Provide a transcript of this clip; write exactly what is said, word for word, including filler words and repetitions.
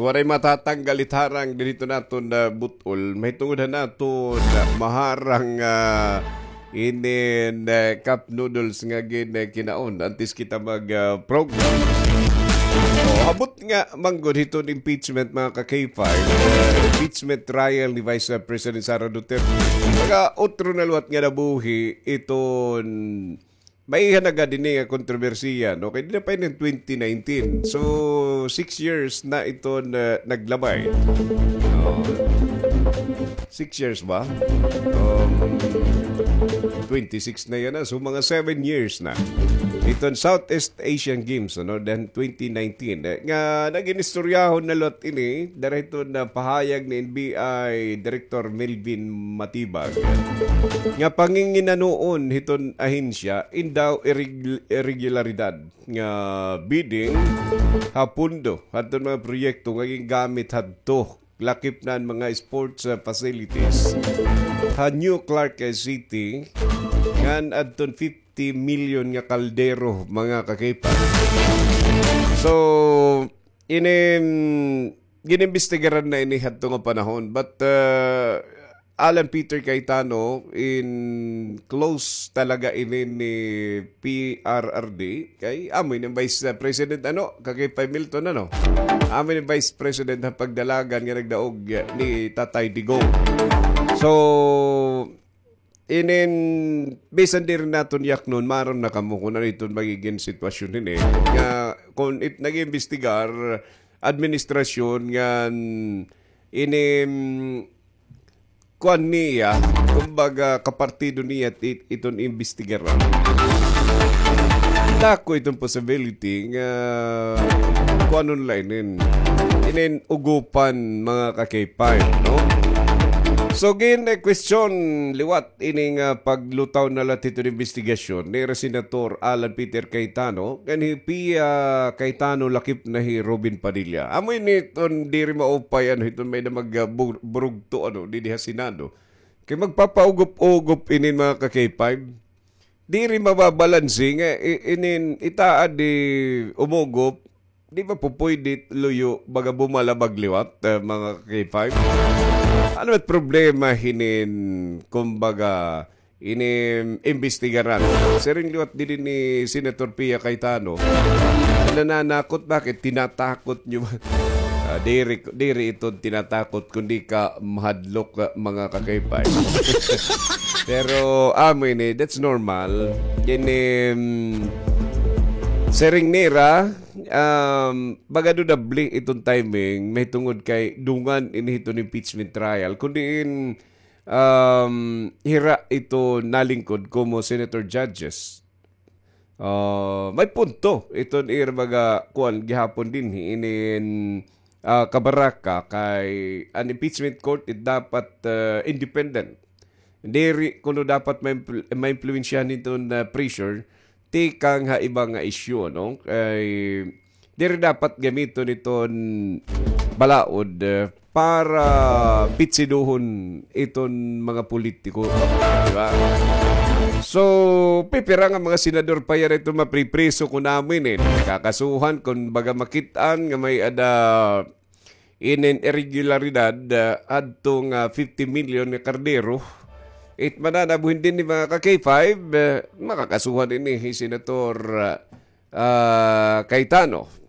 Waray matatanggal it harang diri hiton aton, ah, but-ol. Mahitungod han aton, ah, maharang, ah, inin, ah, cup noodles nga ginkinaon antes kita mag, ah, program. O, ha but nga man gud hiton impeachment, mga ka-K five, ah, impeachment trial ni Vice, ah, President Sara Duterte. Mga utro na liwat nga nabuhi iton maiha na gad ini nga kontrobersiya, no? Kay diri pa ini twenty nineteen. So, six years na iton naglabay. O. Six years ba? Um, twenty-six na yana. So, mga seven years na. Iton Southeast Asian Games, ano, then twenty nineteen. Eh, nga nagin istoryahon na liwat ini, dara hiton pahayag ni N B I Director Melvin Matibag nga panginginanoon hiton ahensya in daw irreg-, irregularidad nga bidding ha pondo hadton mga proyekto nga gingamit hadto, lakip na an mga sports, ah, facilities ha New Clark, ah, City, ngan adton fifty million nga kaldero, mga ka-K five. So, inin, ginimbestigaran na ini hadto nga panahon. But, uh, Alan Peter Cayetano, in close talaga ini ni P R R D. Kay, amo ini Vice President, ano, ka-K five Milton, ano? Amo ini Vice President ha pagdalagan nga nagdaog ni Tatay Digong. So, inin, bisan diri naton yaknon, maaram na kamo kung ano iton magigin sitwasyon hini. Nga, kung it nag-imbestigar, administrasyon ngan inin, kuan niya, kumbaga, kapartido niya it-, iton imbestigaran. Dako iton possibility nga kuanon la inin, inin ugupan, mga ka-K five, no? So, gin, eh, question liwat ini nga paglutaw na la hiton imbestigasyon ni Senator Alan Peter Cayetano, ngan hi Pia Cayetano lakip na hi Robin Padilla. Amo ini iton diri maupay, ano, iton may na mag, ah, bur-, burugto, ano, didi ha Senado. Kay magpapaugup-ugup inin, mga ka-K five. Diri mababalanse nga i-, inin itaad di umugop, di ba po pwede luyo, baga bumalabag liwat, eh, mga ka-K five? Ano it problema hinin, kumbaga, ini imbestigaran? Siring liwat diri ni Senator Pia Cayetano. Nananakot, bakit? Tinatakot niyo ba? Ah, diri, diri ito tinatakot, kundi ka mahadlok, ah, mga ka-K five. Pero, amo ini, that's normal. Ini, mm, siring nira, um, baga dudable iton timing, mahitungod kay dungan ini hiton impeachment trial. Kundi in, um, hira ito nalingkod komo senator judges. Ah, may punto iton ira baga kuan gihapon dinhi inin, ah, kabaraka kay an impeachment court it dapat, ah, independent. Diri kuno dapat maimpl-, maimpluwensyahan hiton, ah, pressure tikang ha iba nga isyu, no? Kay diri dapat gamiton iton balaod, eh, para pitsiduhon iton mga politiko, di ba? So, pipira nga mga senador pa yara iton mapripriso kun amo ini, eh. Kakasuhan kun baga makit-an nga may-ada inin irregularidad, ah, adto nga fifty million nga kardero. It mananabuhin dinhi mga ka-K five, eh, makakasuhan ini hi Senator, ah, ah, Cayetano.